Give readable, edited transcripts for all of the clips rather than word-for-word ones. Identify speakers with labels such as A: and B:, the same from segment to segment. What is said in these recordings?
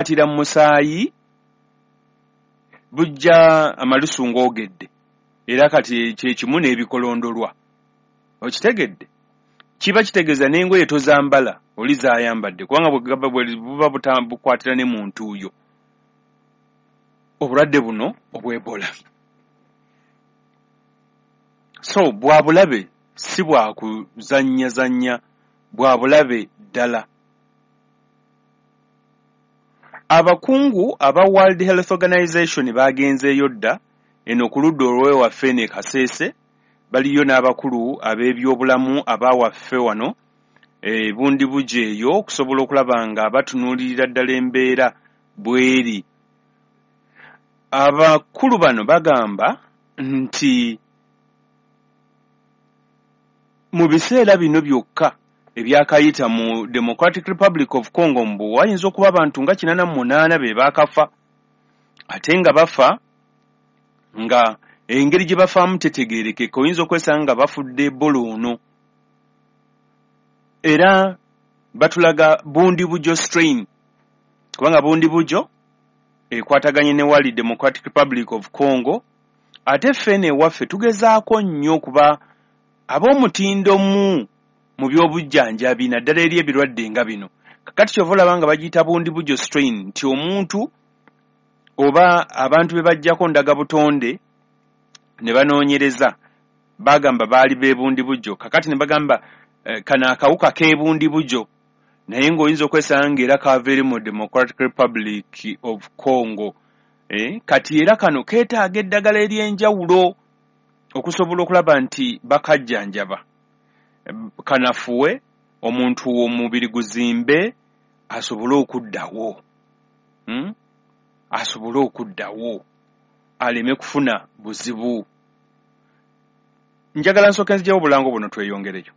A: Bukwatira mu musaayi, bujja amalusu ng'ogedde, era kati kyekimu n'ebikolondolwa. Okitegedde? Kiba kitegeeza n'engoye tozambala, oli zayambadde, kubanga bwe buba bukwatira ne mu ntuuyo. Obulwadde buno obw'Ebola so bwa bulabe, si bwa kuzannyazannya, bwa bulabe ddala. Abakungu aba World Health Organization baagenzeeyo dda eno ku ludda olw'ewaffe eno e Kasese, baliyo n'abakulu ab'ebyobulamu abawaffe wano e Bundibugyo eyo okusobola okulaba nga batunuulirira ddala embeera bw'eri. Abakulu bano bagamba nti mu biseera bino byokka ebyakayita mu Democratic Republic of Congo mbu wayinza okuba abantu nga 88 be baakafa, ate nga bafa nga engeri gye bafaamu tetegeerekeka, oyinza okwesanga nga bafudde Ebola ono. Era batulaga Bundibugyo strain, kubanga Bundibugyo ekwataganye ne wali Democratic Republic of Congo, ate ffe eno ewaffe tugezaako nnyo okuba ab'omutindo mu by'obujjanjabi, naddala eri ebirwadde nga bino. Kakati kyova olaba nga bagiyita Bundibugyo strain, nti omuntu oba abantu be bajjako ndagabutonde ne banoonyereza bagamba baali b'ebundibugyo, kakati ne bagamba kano akawuka k'ebundibugyo, naye ng'oyinza okwesanga ng'era kava eri mu Democratic Republic of Congo. Kati era kano keetaaga eddagala ery'enjawulo okusobola okulaba nti bakajjanjaba, kanafuwe, omuntu omubiri guzimbe asobole okuddawo, Asobole okuddawo aleme kufuna buzibu. Njagala nsooke nziggyewo obulango buno tweyongereyo.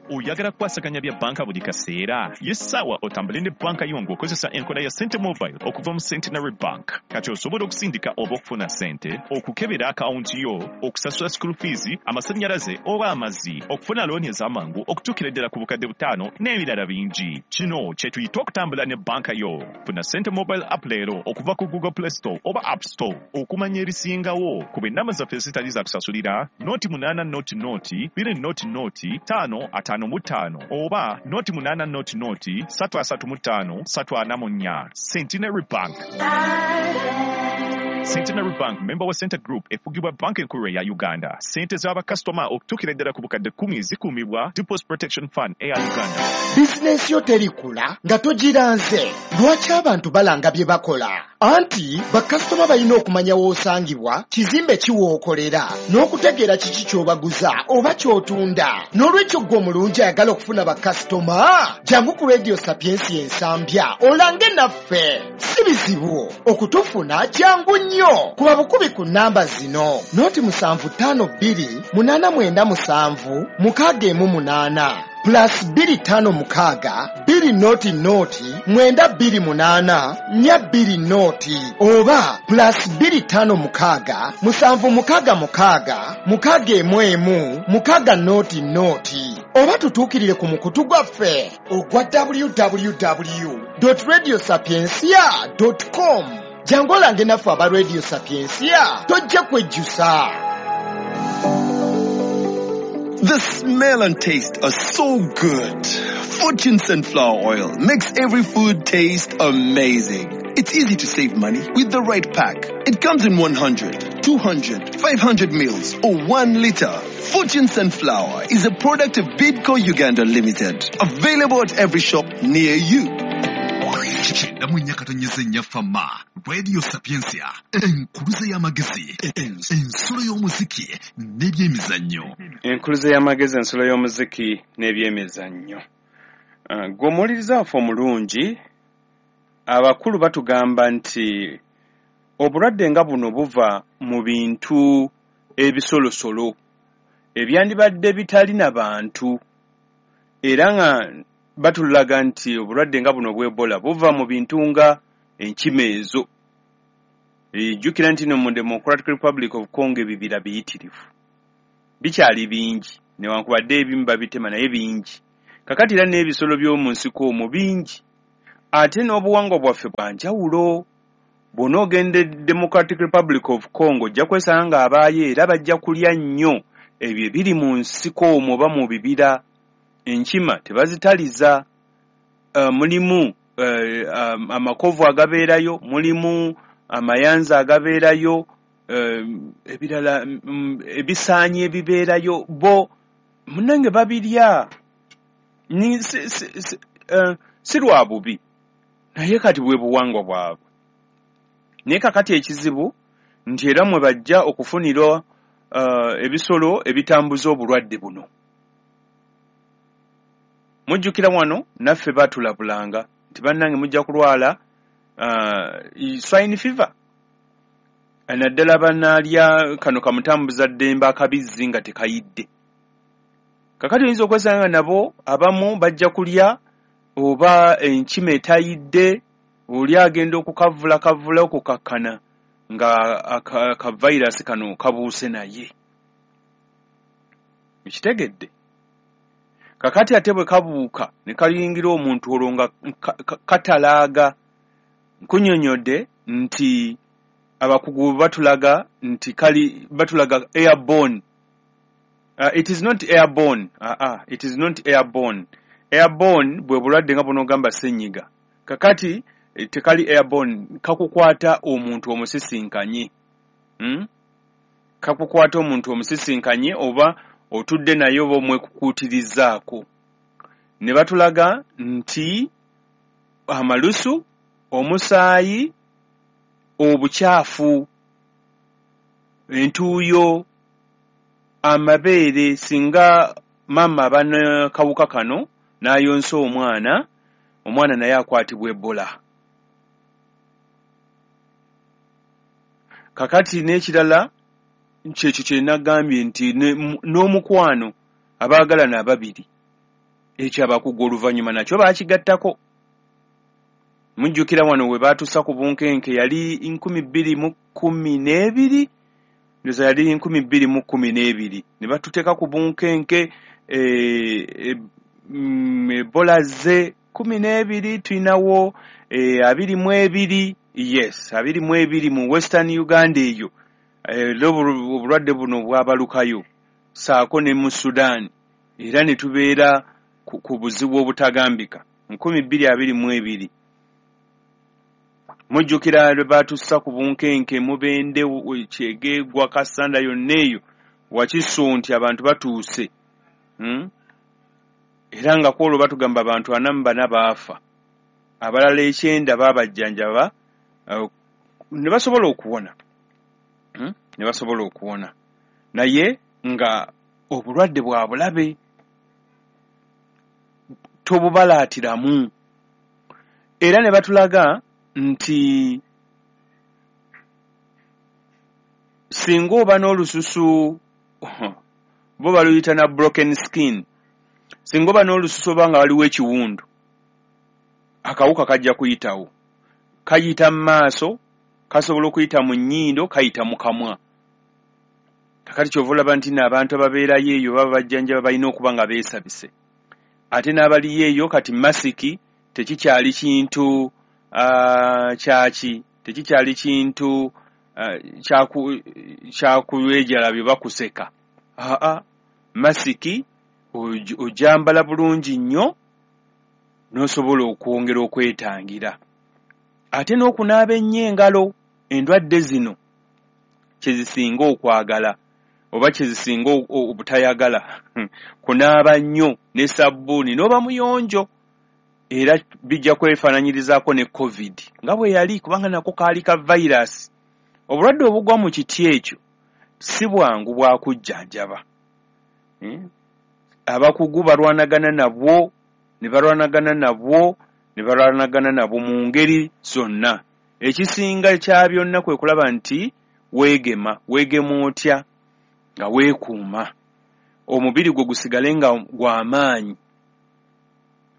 B: Oyagala kukwasaganya bya bbanka buli kaseera? Ye ssaawa otambule ne bbanka yo ng'okozesa enkola ya Sente Mobile okuva mu Centenary Bank. Kati osobola okusindika oba okufuna ssente, okukebera akawunti yo, okusasula school fees, amasannyalaze oba amazzi, okufuna looni ez'amangu okutuukira ddala ku 5000 n'ebirala bingi. Kino kye tuyita okutambula ne bbanka yo. Funa Sente Mobile app leero okuva ku Google Play Store oba App Store. Okumanya ebisingawo, kuba ennamba zaffe ezitali za kusasulira 080 0 20 0 555 oba 080 0 335 344. Centenary Bank. Centenary Bank member wa Center Group efugibwa Banka Enkulu eya Uganda. Ssente z'abakasitoma okutuukira ddala ku 10,000 zikuumibwa Deposit Protection Fund eya Uganda.
C: Bizinensi yo terikula nga togiranze. Lwaki abantu balanga bye bakola? Anti bakasitoma balina okumanya w'osangibwa, kizimbe ki w'okolera, n'okutegeera kiki ky'obaguza oba ky'otunda. N'olwekyo ggwe omulungi ayagala okufuna bakasitoma, jangu ku Radio Sapiensia Ensambya olange naffe. Si bizibu okutufuna, kyangu nnyo. Kuba bukubi ku nnamba zino: 0 752 897 618, +256 2 0 0 928 420, oba +256 766 611 600, oba tutuukirire ku mukutu gwaffe ogwa www.radiosapiencia.com. Jangu olange naffe aba Radio Sapiencia, tojja kwejjusa.
D: The smell and taste are so good. Fortune sunflower oil makes every food taste amazing. It's easy to save money with the right pack. It comes in 100, 200, 500 mils or 1 liter. Fortune Sunflower is a product of Bidco Uganda Limited. Available at every shop near you.
E: 94.4 Fama Radio Sapientia, enkuluze y'amagezi, ensulo y'omuziki n'ebyemizannyo.
A: Enkuluze y'amagezi, ensulo y'omuziki n'ebyemizannyo. Gwe omuwuliriza waffe omulungi, abakulu batugamba nti obulwadde nga buno buva mu bintu ebisolosolo ebyandibadde bitali na bantu, era nga batulaga nti obulwadde nga buno obw'Ebola buva mu bintu nga enkima ezo. Jjukira nti no mu Democratic Republic of Congo ebibira biyitirivu, bikyali bingi, newankubadde ebimu babitema, naye bingi. Kakati era n'ebisolo by'omu nsiko omwo bingi. Ate n'obuwangwa bwaffe bwa njawulo. Bw'onoogenda e Democratic Republic of Congo, ojja kwesanga nga abaayo era bajja kulya nnyo ebyo ebiri mu nsiko omwo oba mu bibira. Enkima tebazitaliza. Mulimu amakovu agabeerayo, mulimu amayanzi agabeerayo, ebirala, ebisaanyi ebibeerayo, bo munnange babirya. Si lwa bubi, naye kati bwe buwangwa bwabwe. Naye kakati ekizibu nti era mwe bajja okufunira ebisolo ebitambuza obulwadde buno. Mujjukira wano naffe batulabulanga nti bannange mujja kulwala swine fever, naddala banaalya kano kamutambuza ddembe akabizzi nga tekayidde. Kakati oyinza okwesanga nabo abamu bajja kulya oba enkima etayidde, oli agenda okukavula kavula okukakkana nga ka virus kano kabuuse naye. Ekitegedde? Kakati ate bwe kabuuka ne kayingira omuntu, olwo nga katalaaga. Nkunnyonnyodde nti abakugu batulaga nti kali batulaga airborne. It is not airborne. It is not airborne. Airborne bwe bulwadde nga bunoogamba ssenyiga. Kakati tekali airborne, kakukwata omuntu omusisinkanye. Kakukwata omuntu omusisinkanye oba otudde naye oba omwekukuutirizaako. Ne batulaga nti amalusu, omusaayi, obukyafu, entuuyo, amabeere, singa maama aba n'akawuka kano n'ayonsa omwana, omwana naye akwatibwa Ebola. Kakati n'ekirala kyekyo kye nagambye nti n'omukwano, abaagalana ababiri, ekyo abakugu oluvannyuma nakyo baakigattako. Mujjukira wano we baatussa ku bunkenke yali 2012, ndowooza yali 2012, ne batuteeka ku bunkenke. Ebola ze 12, tulinawo 22, yes, 22 mu Western Uganda eyo. Era obulwadde buno bwabalukayo ssaako ne mu Sudan, era ne tubeera ku buzibu obutagambika. 2022, mujjukira lwe baatussa ku bunkenke Mubende, Kyegegwa, Kassanda, yonna eyo Wakiso, nti abantu batuuse. Era nga kwolwo batugamba abantu 44 baafa, abalala 90 baabajjanjaba ne basobola okuwona. Ne basobola okuwona, naye nga obulwadde bwa bulabe, tobubalaatiramu. Era ne batulaga nti singa oba n'olususu, bo baluyita na broken skin, singa oba n'olususu oba nga waliwo ekiwundu, akawuka kajja kuyitawo. Kayita mu maaso, kasobola okuyita mu nnyindo, kayita mu kamwa. Kakati kyova olaba nti n'abantu ababeerayo eyo baba bajjanjaba balina okuba nga beesabise, ate n'abaliyo eyo kati masiki tekikyali kintu kyaki, tekikyali kintu kyakuwejalabye bakuseka. Aa, masiki ogyambala bulungi nnyo n'osobola okwongera okwetangira, ate n'okunaaba ennyo engalo. Endwadde zino kye zisinga okwagala oba kye zisinga obutayagala kunaaba nnyo ne sabbuuni n'oba muyonjo. Era bijja kwefaananyirizaako ne COVID nga bwe yali, kubanga nako kaali ka virus. Obulwadde obugwa mu kiti ekyo si bwangu bwakujjanjaba. Abakugu balwanagana nabwo ne balwanagana nabwo ne balwanagana nabwo mu ngeri zonna. Ekisinga kya byonna kwe kulaba nti weegema. Weegema otya? Nga weekuuma, omubiri gwo gusigale nga gw'amaanyi,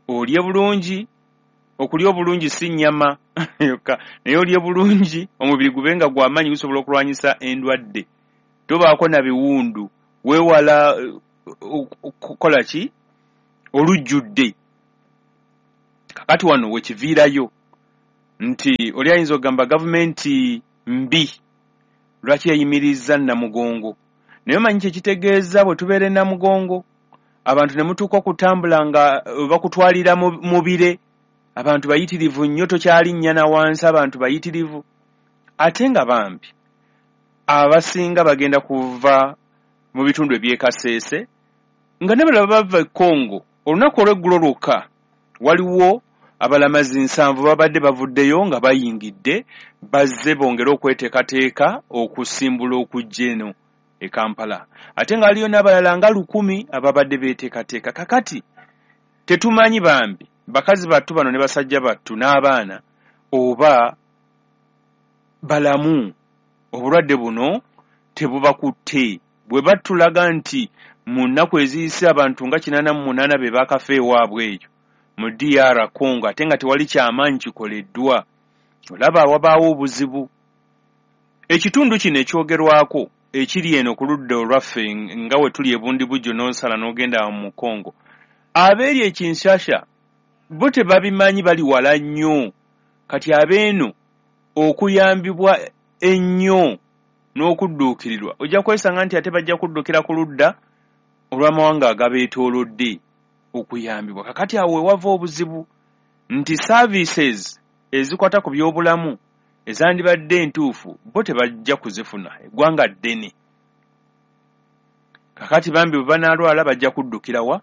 A: olye bulungi. Okulya obulungi si nnyama yokka, naye olye bulungi omubiri gube nga gw'amaanyi, gusobola okulwanyisa endwadde, tobaako na biwundu, weewala okukola ki olujjudde. Kakati wano wekiviirayo. Nti oli ayinza okugamba gavumenti mbi, lwaki yayimirizza Namugongo? Naye omanyi kye kitegeeza bwe tubeera e Namugongo, abantu ne mutuuka okutambula nga bakutwalira mu bire, abantu bayitirivu nnyo, tokyalinnya na wansi, abantu bayitirivu. Ate nga bambi abasinga bagenda kuva mu bitundu eby'e Kasese, nga ne balala bava e Congo. Olunaku olw'eggulo lwokka waliwo abalamazi 7 babadde bavuddeyo nga bayingidde, bazze bongere okweteekateeka okusimbula okujja eno e Kampala. Ate nga waliyo n'abalala nga 1000 ababadde beeteekateeka. Kakati tetumanyi bambi bakazi battu bano ne basajja battu n'abaana oba balamu, obulwadde buno tebubakutte. Bwe batulaga nti mu nnaku eziyise abantu nga 88 be baakafa ewaabwe eyo mu DR Congo, ate nga tewali kyamaanyi kikoleddwa, olaba wabaawo obuzibu. Ekitundu kino ekyogerwako ekiri eno ku ludda olwaffe nga we tuli e Bundibugyo n'osala n'ogenda mu Congo, abeeri e Kinshasa bo tebabimanyi, bali wala nnyo. Kati abeeno okuyambibwa ennyo n'okudduukirirwa ojja kwesanga nti ate bajja kuddukira ku ludda olw'amawanga agabeetoolodde okuyambibwa. Kakati awo we wava obuzibu nti services ezikwata ku byobulamu ezandibadde entuufu bo tebajja kuzifuna, eggwanga ddene. Kakati bambi bwe banaalwala bajja kuddukira wa?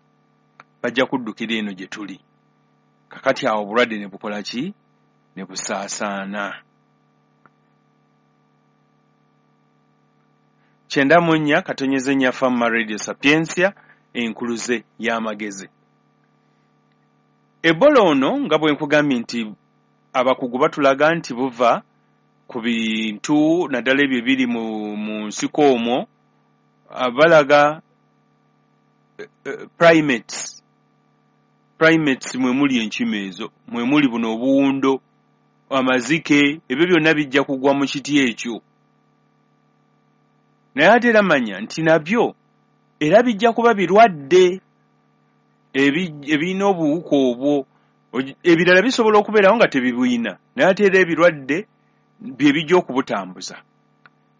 A: Bajja kuddukira eno gye tuli. Kakati awo obulwadde ne bukola ki? Ne busaasaana. 94.4 Fama Radio Sapientia, enkuluze y'amagezi. Ebola ono nga bwe nkugambye nti abakugu batulaga nti buva ku bintu naddala ebyo ebiri mu nsiko omwo, balaga primates. Primates mwe muli enkima ezo, mwe muli buno obuwundo, amazike, ebyo byonna bijja kugwa mu kiti ekyo. Naye ate era manya nti nabyo era bijja kuba birwadde ebirina obuwuka obwo. Ebirala bisobola okubeerawo nga tebibuyina, naye ate era ebirwadde bye bijja okubutambuza.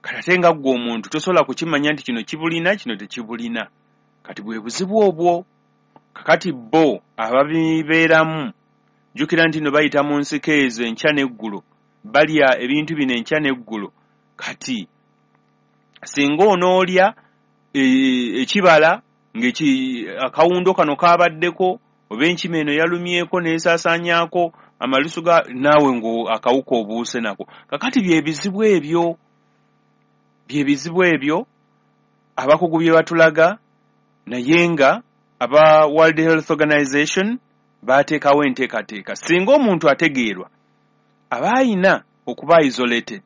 A: Kati ate nga ggwe omuntu tosobola kukimanya nti kino kibulina, kino tekibulina. Kati bwe buzibu obwo. Kakati bo ababibeeramu, jjukira nti nno bayita mu nsiko ezo enkya n'eggulo, balya ebintu bino enkya n'eggulo. Kati singa onoolya ekibala akawundo kano kabaddeko, oba enkima eno yalumyeko n'esaasaanyaako amalusu ga naawe ng'akawuka obuuse nako. Kakati bye bizibu ebyo, bye bizibu ebyo abakugu bye batulaga, naye nga aba World Health Organization baateekawo enteekateeka. Singa omuntu ategeerwa aba ayina okuba isolated.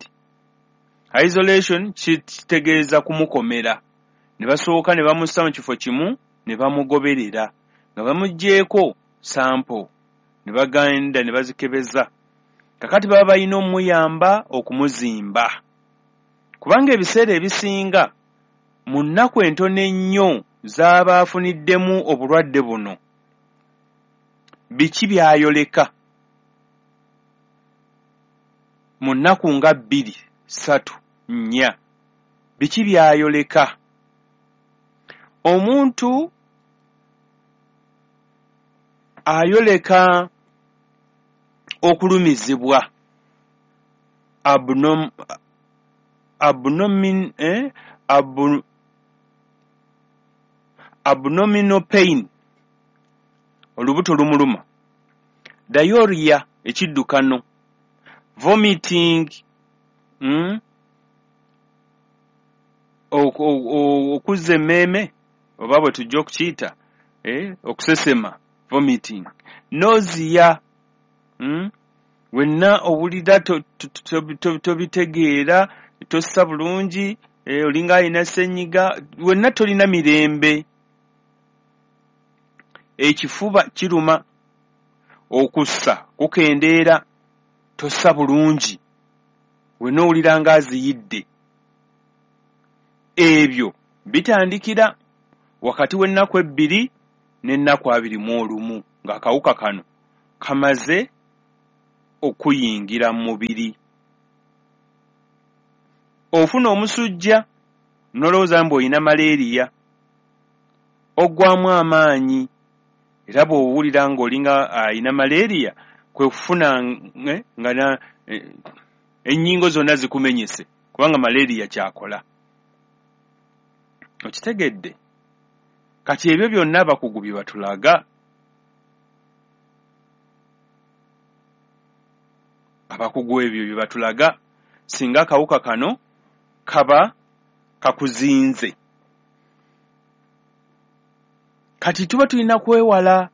A: Isolation kitegeeza kumukomera, ne basooka ne bamussa mu kifo kimu ne bamugoberera nga bamuggyeeko sample ne bagenda ne bazikebeza. Kakati baba balina omuyamba okumuzimba, kubanga ebiseera ebisinga mu nnaku entono ennyo z'aba afuniddemu obulwadde buno, biki by'ayoleka mu nnaku nga 2, 3, 4, biki by'ayoleka? Omuntu ayoleka okulumizibwa abdominal pain, olubuto lumuluma, diarrhea, ekiddukano, vomiting, okuzza emmeeme oba bwe tujja okukiyita, okusesema, vomiting, nausea, wenna owulira tobitegeera, tossa bulungi, olinga alina ssenyiga, wenna tolina mirembe, ekifuba kiruma, okussa kukendeera, tossa bulungi, wenna owulira ng'aziyidde. Ebyo bitandikira wakati w'ennaku 2 n'ennaku 21 ng'akawuka kano kamaze okuyingira mu mubiri. Ofuna omusujja n'olowooza mbu olina malaria, oggwamu amaanyi, era bw'owulira ng'olinga alina malaria kwe kufuna nga ennyingo zonna zikumenyese, kubanga malaria ky'akola. Okitegedde? Kati ebyo byonna abakugu bye batulaga. Abakugu ebyo bye batulaga singa akawuka kano kaba kakuzinze. Kati tuba tulina kwewala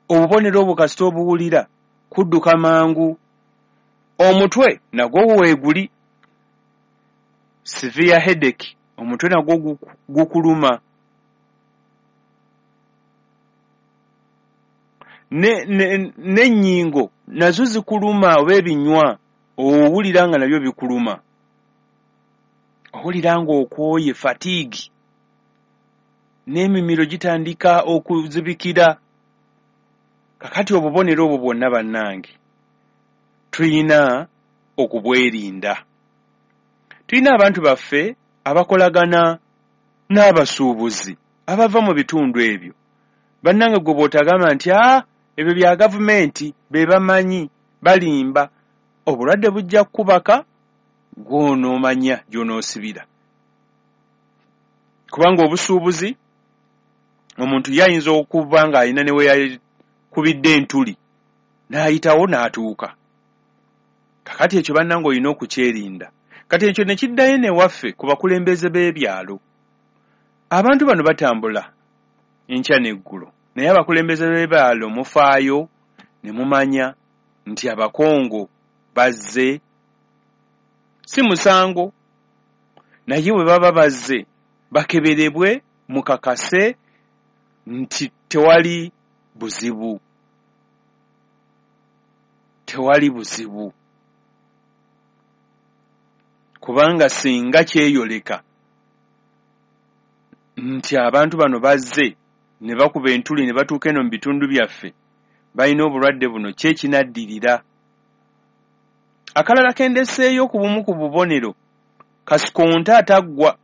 A: obubonero obwo kasita obuwulira, kudduka mangu. Omutwe nagwo weeguli, severe headache, omutwe nagwo gukuluma. N'ennyingo nazo zikuluma, oba ebinywa owulira nga nabyo bikuluma, owulira ng'okooye, fatigue, n'emimiro gitandika okuzibikira. Kakati obubonero obwo bwonna bannange tulina okubwerinda. Tulina abantu baffe abakolagana n'abasuubuzi abava mu bitundu ebyo. Bannange gwe bw'otagamba nti ebyo bya gavumenti be bamanyi, balimba, obulwadde bujja kukubaka gw'onoomanya gy'onoosibira. Kubanga obusuubuzi omuntu ye ayinza okuba ng'alina ne we yakubidde entuli n'ayitawo n'atuuka. Kakati ekyo bannange olina okukyerinda. Kati ekyo ne kiddayo newaffe ku bakulembeze b'ebyalo. Abantu bano batambula enkya n'eggulo, naye abakulembeze b'ebyalo mufaayo ne mumanya nti Abakongo bazze, si musango, naye bwe baba bazze bakeberebwe mukakase nti tewali buzibu. Tewali buzibu. Kubanga singa kyeyoleka nti abantu bano bazze ne bakuba entuli ne batuuka eno mu bitundu byaffe, balina obulwadde buno, ki ekinaddirira? Akalala kendeseeyo ku bumu ku bubonero, kasikonta ataggwa,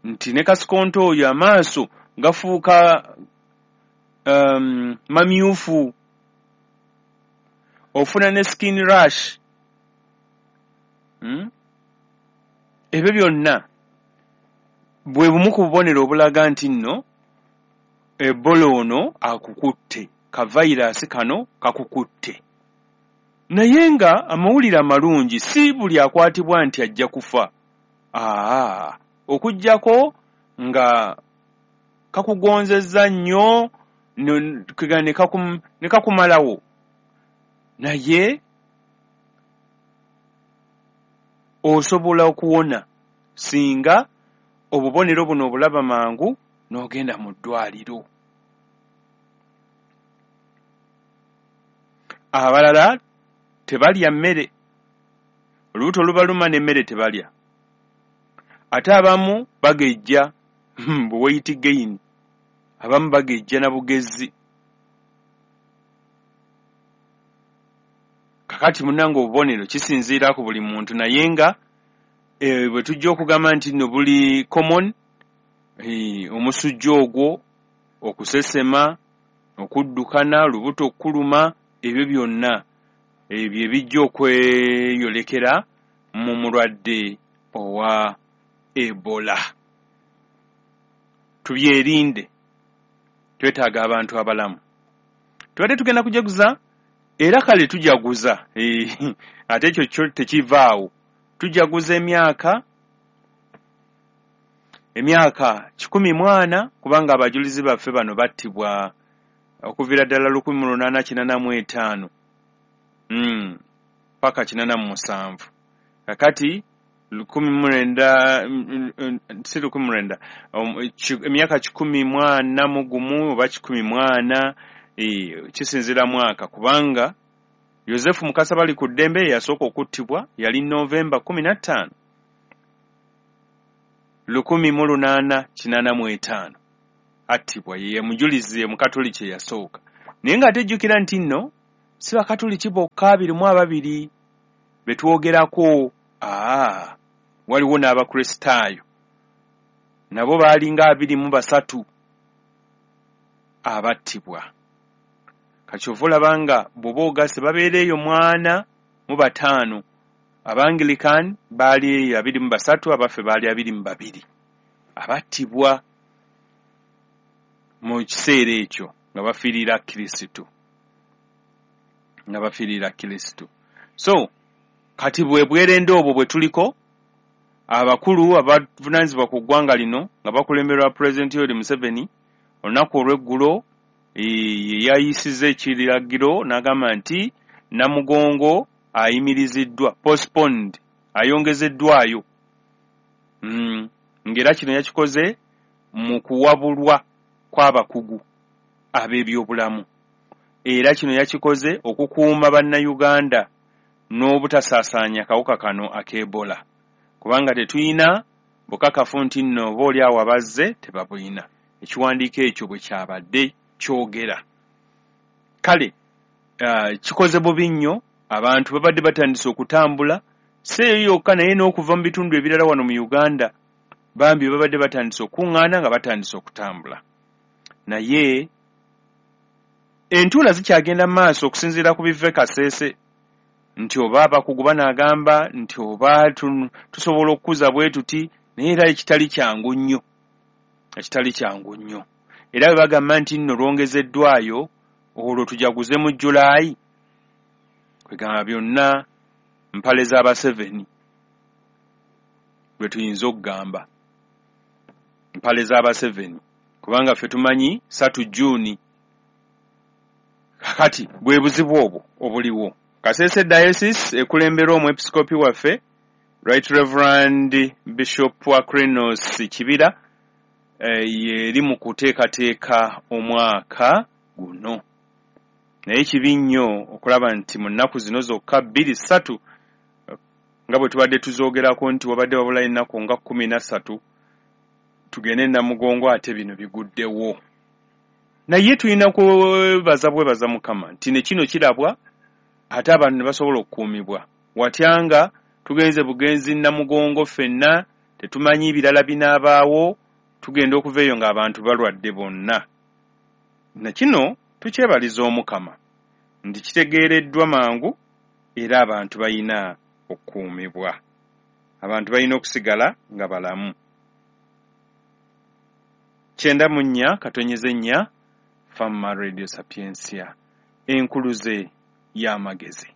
A: nti ne kasikonta oyo amaaso gafuuka mamyufu, ofuna ne skin rash. Ebyo byonna bwe bumu ku bubonero obulaga nti nno Ebola ono akukutte, ka virus kano kakukutte. Naye nga amawulire amalungi si buli akwatibwa nti ajja kufa. Okuggyako nga kakugonzezza nnyo ne kakumalawo. Naye osobola okuwona singa obubonero buno obulaba mangu n'ogenda mu ddwaliro. Abalala tebalya mmere, olubuto lubaluma n'emmere tebalya. Ate abamu bagejja, bu weight gain, abamu bagejja na bugezi. Kakati munnange obubonero kisinziira ku buli muntu, naye nga bwe tujja okugamba nti nno buli common, omusujja ogwo, okusesema, okuddukana, olubuto okukuluma, ebyo byonna ebyo ebijja okweyolekera mu mulwadde owa Ebola. Tubyerinde, twetaaga abantu abalamu. Tubadde tugenda kujaguza, era kale tujaguza, ate ekyo kyo tekivaawo. Tujaguza emyaka 140, kubanga abajulizi baffe bano battibwa okuviira ddala 1885 paka 87. Kakati 19, si 19, emyaka 141 oba 140, kisinziira mwaka, kubanga Yosefu Mukasa bali ku ddembe yasooka okuttibwa yali Novemba 15 1885 attibwa, ye mujulizi Omukatoliki eyasooka. Naye ng'ate jjukira nti nno si Bakatuliki bokka 22 be twogerako, waliwo n'Abakristaayo nabo baalinga 23 abattibwa. Kati kyova olaba nga bw'oba ogasse babeera eyo 45. Abanglican baali 23, abaffe baali 22 abattibwa mu kiseera ekyo nga bafiirira Kristo, nga bafiirira Kristo. So kati bwe bwerende obwo bwe tuliko, abakulu abavunaanyizibwa ku ggwanga lino nga bakulemberwa Pulezidenti Yoweri Museveni, olunaku olw'eggulo yayisizza ekiragiro n'agamba nti Namugongo ayimiriziddwa, postponed, ayongezeddwayo. Ng'era kino yakikoze mu kuwabulwa kw'abakugu ab'ebyobulamu. Era kino yakikoze okukuuma Bannayuganda n'obutasaasaanya kawuka kano ak'Ebola, kubanga tetulina bukakafu nti nno oba oli awo abazze tebabulina. Ekiwandiiko ekyo bwe kyabadde kyogera. Kale kikoze bubi nnyo, abantu babadde batandise okutambula, si eyo yokka naye n'okuva mu bitundu ebirala wano mu Uganda, bambi babadde batandise okuŋŋaana nga batandise okutambula. Naye entuula zikyagenda mu maaso okusinziira ku biva e Kasese, nti oba abakugu banaagamba nti oba tusobola okukuza bwe tuti, naye era ekitali kyangu nnyo, ekitali kyangu nnyo. Era bwe bagamba nti nno lwongezeddwayo, olwo tujaguze mu Julaayi, kwegamba byonna mpale z'Abaseveni bwe tuyinza okugamba, mpale z'Abaseveni, kubanga ffe tumanyi 3 Juuni. Kakati bwe buzibu obwo obuliwo. Kasese Diocese ekulemberwa omwepiskopi waffe Right Reverend Bishop Aquinas Kibira, yeri mu kuteekateeka omwaka guno. Naye kibi nnyo okulaba nti mu nnaku zino zokka 2-3 nga bwe tubadde tuzoogerako nti wabadde wabulayo ennaku nga 13 tugende Namugongo, ate bino biguddewo. Naye tulina kwebaza bwebaza Mukama nti ne kino kirabwa, ate abantu ne basobola okukuumibwa. Watya nga tugenze bugenzi Namugongo ffenna tetumanyi birala binaabaawo, tugenda okuva eyo ng'abantu balwadde bonna. Na kino tukyebaliza Omukama nti kitegeereddwa mangu, era abantu balina okukuumibwa, abantu balina okusigala nga balamu. 94.4 Fama Radio Sapientia, enkuluze y'amagezi.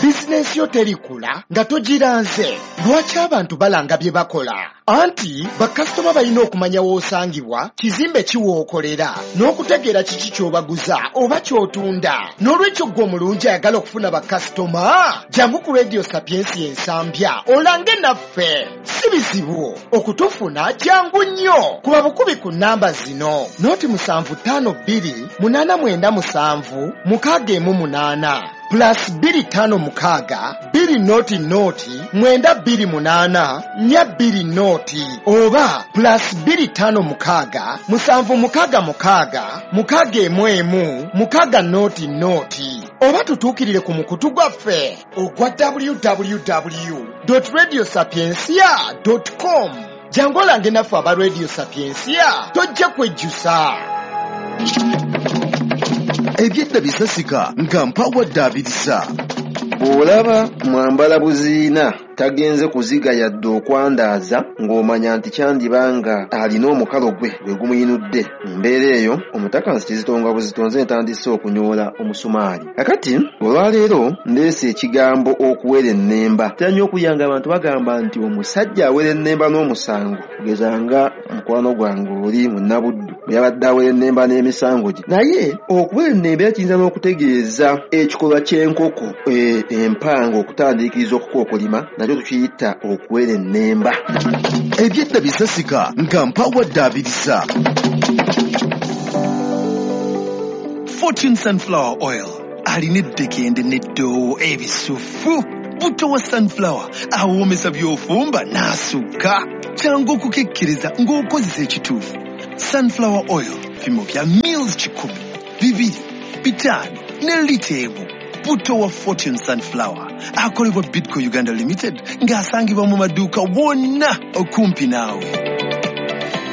C: Bizinensi yo terikula nga togiranze. Lwaki abantu balanga bye bakola? Anti bakasitoma balina okumanya w'osangibwa, kizimbe ki w'okolera, n'okutegeera kiki ky'obaguza oba ky'otunda. N'olwekyo ggwe omulungi ayagala okufuna bakasitoma, jangu ku Radio Sapientia Ensambya olange naffe. Si bizibu okutufuna, jangu nnyo. Kuba bukubi ku nnamba zino: 0752 897 618 plus 256 2 0 0 928 420 oba plus 256 766 611 6 0. Oba tutuukirire ku mukutu gwaffe ogwa www.radiosapiencia.com. Jangu olange naffe aba Radio Sapientia, tojja kwejjusa.
E: Ebyedda bisasika nga mpawadde abirisa.
F: Bw'olaba mwambala buziina tagenze kuziga yadde okwandaaza, ng'omanya nti kyandiba nga alina omukalo gwe gwe gumuyinudde. Mu mbeera eyo omutakansi kizitonga buzitonze ntandise okunyoola omusumaali. Kakati olwaleero ndeese ekigambo okuwera ennemba. Ntera nnyo okuyanga abantu bagamba nti omusajja awera ennemba n'omusango, kugeza nga mukwano gwange oli munnabuddu bwe yabadde awera ennemba n'emisango gye. Naye okuwera ennemba era kiyinza n'okutegeeza ekikolwa ky'enkoko empanga okutandiikiriza okukookolima, nakyo tukiyita okuwera ennemba.
E: Ebyedda bisasika nga mpawadde abirisa.
D: Fortune Sunflower Oil alina eddekende n'eddoowo ebisufu. Butto wa sunflower awoomesa by'ofumba n'asukka. Kyangu okukekkiriza ng'okozesa ekituufu. Sunflower oil bipimo bya mils 100, 2, 5 ne lita 1. Butto wa Fortune Sunflower akolebwa Bidco Uganda Limited ng'asangibwa mu maduuka wonna okumpi naawe.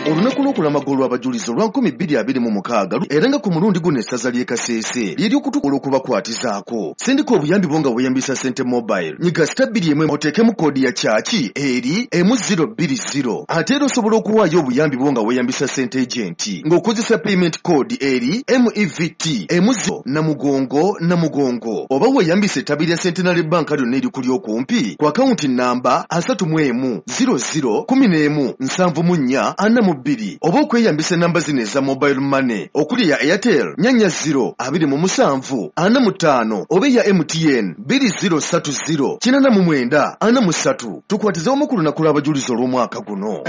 E: Olunaku lw'okulamaga olw'abajulizi olwa 2026 era nga ku mulundi guno essaza ly'e Kasese ly'ery'okutukola okubakwatizaako. Sindika obuyambi bwo nga weeyambisa Sente Mobile. Nyiga *21 oteekemu koodi ya kyaki eri M020. Ate era osobola okuwaayo obuyambi bwo nga weeyambisa Sente Agent ng'okozesa payment code eri MEVT M0 Namugongo Namugongo oba weeyambise ettabi lya Centenary Bank lyonna erikuli okumpi ku akawunti namba 31 00 11 74 42 oba okweyambisa enamba zino eza mobile money okuli eya Airtel 40 27 45 oba eya MTN 2030 89 43. Tukwatize wamu ku lunaku lw'abajulizi olw'omwaka guno.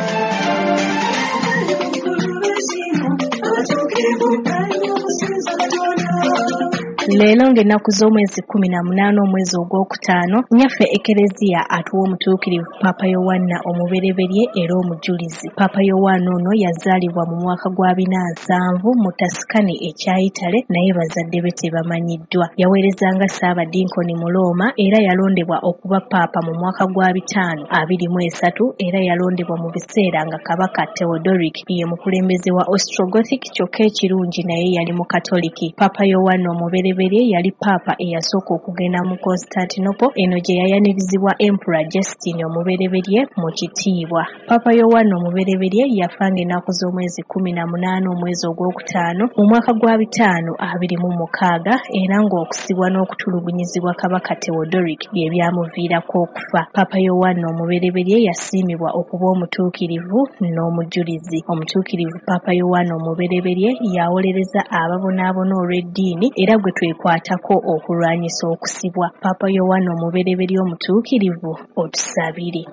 G: Leero ng'ennaku z'omwezi 18 omwezi ogwokutaano, nnyaffe Ekereziya atuwa omutuukirivu Paapa Yowanna omubereberye era omujulizi. Paapa Yowanna ono yazaalibwa mu mwaka gwa 470 mu Tuscany ekya Italy, naye bazadde be tebamanyiddwa. Yaweerezanga Ssaabadinkoni mu Rooma era yalondebwa okuba Paapa mu mwaka gwa 523 era yalondebwa mu biseera nga Kabaka Theodoric ye mukulembeze wa Ostrogothic, kyokka ekirungi naye yali Mukatoliki. Paapa Yowanna omubereberye yali Paapa eyasooka okugenda mu Constantinople, eno gye yayanirizibwa Emperor Justin omubereberye mu kitiibwa. Paapa Yowanna omubereberye yafa ng'ennaku z'omwezi 18 omwezi ogwokutaano mu mwaka gwa 526 era ng'okusibwa n'okutulugunyizibwa Kabaka Theodoric bye byamuviirako okufa. Paapa Yowanna omubereberye yasiimibwa okuba omutuukirivu n'omujulizi. Omutuukirivu Paapa Yowanna omubereberye yawolereza ababonaabona olw'eddiini era gwe twekwatako okulwanyisa okusibwa. Paapa Yowanna omubereberye omutuukirivu, otusabire.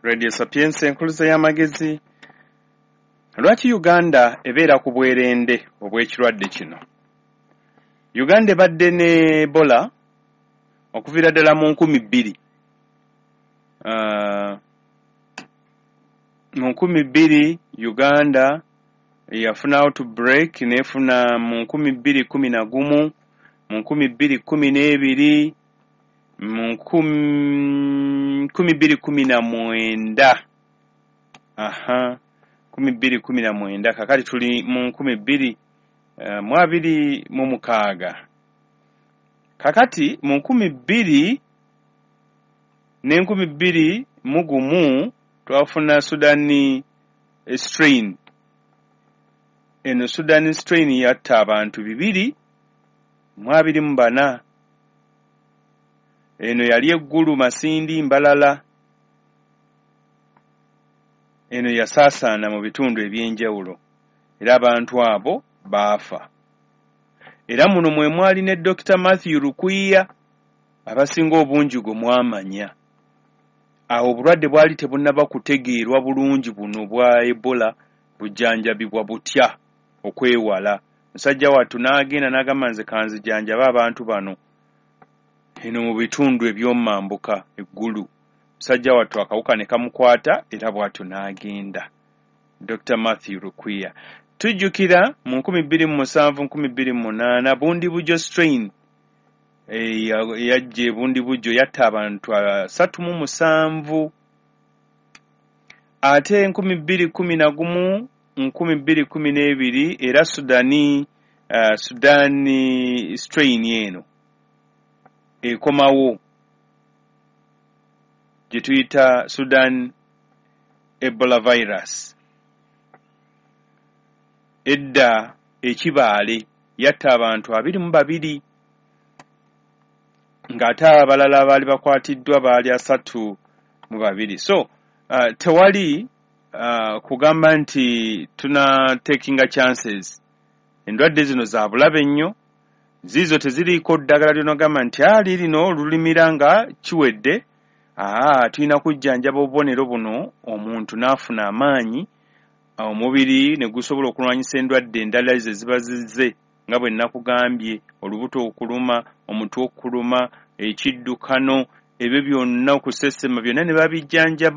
A: Radio Sapienza enkuluze y'amagezi. Lwaki Uganda ebeera ku bwerende obw'ekirwadde kino? Uganda ebadde ne Ebola okuviira ddala mu 2000. Mu 2000 Uganda yafuna outbreak, n'efuna mu 2011, mu 2012, mu 2019. Aha, 2019. Kakati tuli mu 2026. Kakati mu 2000 ne 2001 twafuna Sudan strain. Eno Sudan strain yatta abantu 224. Eno yali Eggulu, Masindi, Mbalala. Eno yasaasaana mu bitundu eby'enjawulo era abantu abo baafa. Era muno mwe mwali ne Dr. Matthew Lukwiya, abasinga obungi gwe mwamanya. Awo obulwadde bwali tebunnaba kutegeerwa bulungi buno bwa Ebola bujjanjabibwa butya okwewala. Musajja wattu n'agenda n'agamba nze kanzijanjabe abantu bano eno mu bitundu eby'omambuka Eggulu. Musajja wattu akawuka ne kamukwata era bw'atyo n'agenda. Dr. Matthew Lukwiya. Tujjukira mu 2007 2008 Bundibugyo strain yajja Ebundibugyo yatta abantu 37. Ate 2011 2012 era Sudani strain eno ekomawo gye tuyita Sudan Ebola virus. Edda ekibaale yatta abantu 22 ng'ate abalala baali bakwatiddwa baali 32. So tewali kugamba nti tuna takinga chances. Endwadde zino za bulabe nnyo, ziizo teziriiko ddagala ly'onogamba nti lino lulimira nga kiwedde. Tulina kujjanjaba obubonero buno omuntu n'afuna amaanyi, omubiri ne gusobola okulwanyisa endwadde endala ezo eziba zizze nga bwe nakugambye, olubuto okuluma, Omutwe okuluma, ekiddukano, ebyo byonna, okusesema, byonna ne babijjanjaba.